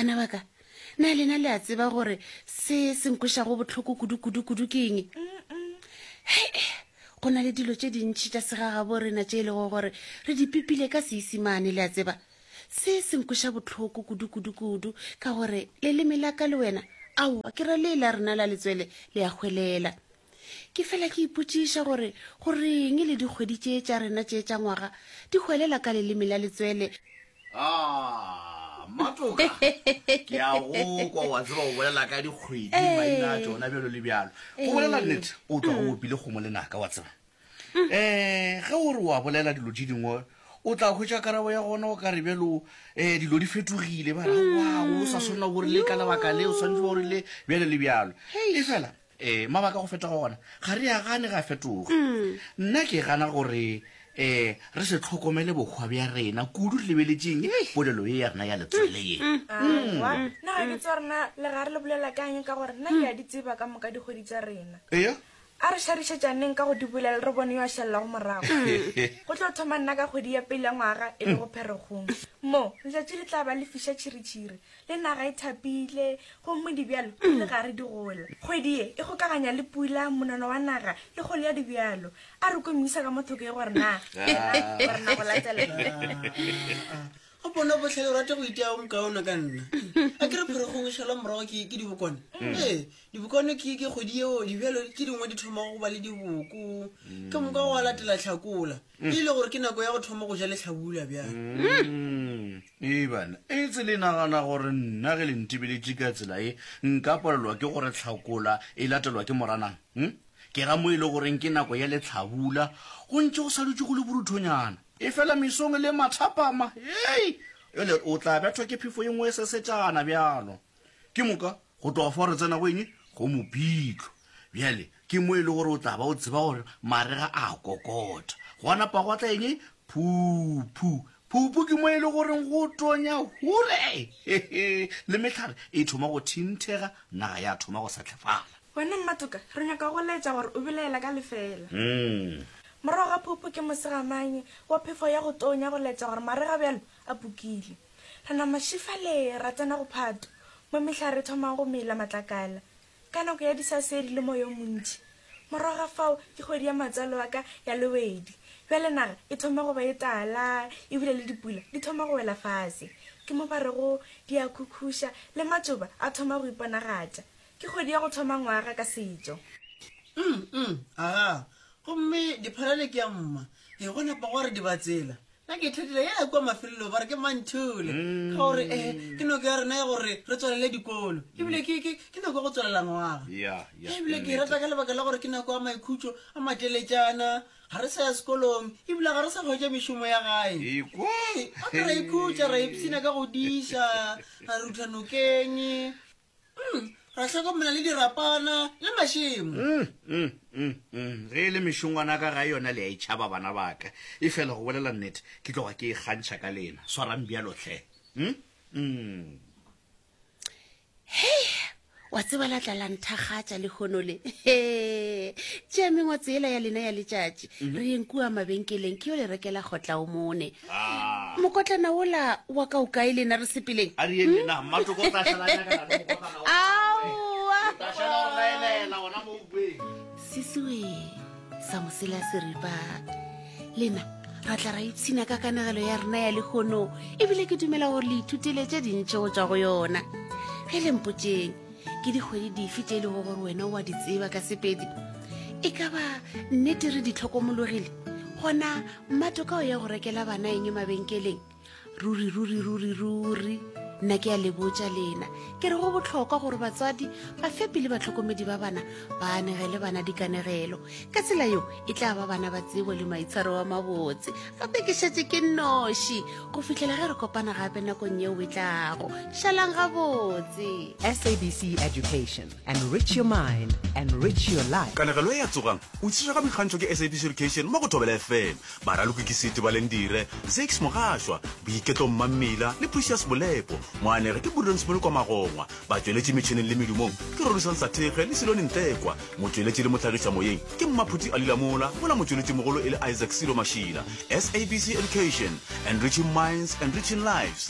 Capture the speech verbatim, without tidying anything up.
Bana ba ka, na lena le a tseba gore se se nkwešago bohloko kudu-kudu-kudu ke eng? Hei, go na le dilo tše dintši tša segagabo rena tše e lego gore re di pipile ka Seisimane, le a tseba. Se se nkweša bohloko kudu-kudu-kudu ka gore leleme la ka le wena, aowa, ke ra le la rena la letswele, le a hwelela. Ke fela ke ipotšiša gore goreng le dikgwedi tše tša rena tše tša ngwaga di hwelela ka leleme la letswele. Ah, Mmatoka, ke a go kwa, wa tseba o bolela ka dikgwedi, maina a tšona bjalo le bjalo. Go bolela nnete, o tloga o opile kgomo lenaka, wa tseba. Um ge o re wa bolela dilo tše dingwe, o tla hwetša karabo ya gona o ka re bjalo um dilo di fetogile, ba re aowa, o sa swanela gore le ka lebaka le, o swanetše gore le bjalo le bjalo. E fela um mabaka go fetoga gona ga re a gane ga fetoga. Nna ke gana gore um re se hlokomele bohwa bja rena kudu, re lebeletšeng polelo ye ya rena ya letswele ye. Aowa, nna ga ke tsebe gore na le gare le bolela ka eng, ka gore nna ke a di tseba ka moka dikgwedi tša rena. Eya. A re šarišetšaneng ka go di bolela, re bone yo a šalelago morago. Go tlo thoma nna ka kgwedi ya pele ya ngwaga, e lego Pherekgong. Mo, letšatši le tla ba le fiša tšhiritšhiri, le naga e thapile, gomme dibjalo di le gare di gola. Kgwedi ye e kgokaganya le pula, monono wa naga le kgolo ya dibjalo. A re kwe moisa ka mo thoko ye gore na yena o re na go latela. Go bona bohlale o rata go itia o mokaone ka nna. A ke re Pherekgong e šalwa morago ke ke dibokwane. Ee, dibokwane ke ke kgwedi yeo dibjalo tše dingwe di thomago go ba le diboko. Ke moka gwa latela Hlakola. E le gore ke nako ya go thoma go ja lehlabula bjale. Mm. Ee bana, etse le nagana gore nna ge le ntebeletše ka tsela ye nka palelwa ke gore Hlakola e latelwa ke Moranang? Hm? Ke ra mo e le goreng ke nako ya lehlabula, go ntše go sa dutše go le boruthonyana. Efela mesong le mathapama, hei, ele o tla bethwa ke phefo ye nngwe e sesetšana bjalo. Ke moka, go tloga fao re tsena go eng? Go Mopitlo. Bjale, ke mo e le gore o tla ba o tseba gore marega a kokota. Gwa napa gwa tla eng? Phuphu. Phuphu ke mo e le goreng go tonya hure, hehe, le mehlare e thoma go thinthega, naga ya thoma go sehlefala. Wena Mmatoka, re nyaka go laetša gore o belaela ka lefeela. Morago ga phuphu ke mosegamanye wa phefo ya go tonya go laetša gore marega bjalo a pukile. Re nama šifale ra tsena go Phato, mo mehlare e thomago go mela matlakala ka nako ya disasedi le moya o montši. Morago ga fao ke kgwedi ya matswalo a ka ya lewedi. Bjale naga e thoma go ba e tala ebile le dipula di thoma go wela fase. Ke mo ba rego di a khukhuša le matšoba a thoma go iponagatša. Ke kgwedi ya go thoma ngwaga ka setšo. Mm, mm, aga. Gomme diphalane ke ya mma. E go napa gwa re dibatsela. Nna ke ithatela yela kua mafelelong ba re ke Manthole. Ka gore eh ke nako ya rena ya gore re tswalele dikolo. Ebile ke ke ke nako ya go tswalela ngwaga. Ya, ya, Ebile ke ke e rata nnete. ka lebaka la gore ke nako ya maikhutšo a mateletšana. Ga re sa ya sekolong ebile ga re sa hwetša mešomo ya gae. Ekwa. Ee, gape ra ikhutša, ra ipshina ka go diša, ra rutha nokeng. Mm, ra hlokomela le dirapana le mašemo. Mm, mm, mm, mm. Ge e le mešongwana ka gae yona le a e tšhaba bana ba ka. Efela go bolela nnete, ke tloga ke ikgantšha ka lena. Swarang bjalo hle. Mm? Mm. Hei, wa tseba la tla la nthakgatša lehono le. He, tšea mengwatse yela ya lena ya letšatši, re yeng kua mabenkeleng ke yo le rekela kgotla o mone. Ah. Mokotlana wola wa ka o kae lena, re sepeleng? A re yeng lena, Mmatoko o tla šala a nyakana le mokotlana wa gagwe. Aowa. O tla šala o re laelela gona mo uweng. Sisiwe sa mosela seripa, lena ra tla ra ipshina ka kanegelo ya rena ya lehono, ebile ke dumela gore le ithutile tše dintši go tšwa go yona. Ge le mpotšeng, ke dikgwedi dife tše e lego gore wena o a di tseba ka Sepedi? E ka ba nnete re di hlokomologile? Gona Mmatoka o ya go rekela bana eng mabenkeleng? Ruri, ruri, ruri, ruri, nna ke a le botša lena, ke re go bohlokwa gore batswadi, bafepi le bahlokomedi ba bana ba anegele bana dikanegelo. Ka tsela yeo e tla ba bana ba tsebo le maitshwaro a mabotse. Gape ke šetše ke nnoši go fihlela ge re kopana gape nakong yeo e tlago. Šalang gabotse. S A B C Education, enrich your mind, enrich your life. Kanegelo ye ya Tsogang o tlišwa ka boikgantšho ke S A B C Education mo go Thobela F M. Baraloki ke Seti Balendire, Zakes Mogašwa, Boiketlo Mmammila le Precious Bolepo. Moanegi ke Prudence Molokwa Magongwa. Batšweletši metšhineng le medumong ke Rorisang Sathekge le Silone Ntlekwa. Motšweletši le mohlagišamoyeng ke Mmaphuti Alila Mola, mola motšweletšimogolo e le Isaac Silo Mašila. S A B C Education, enriching minds, enriching lives.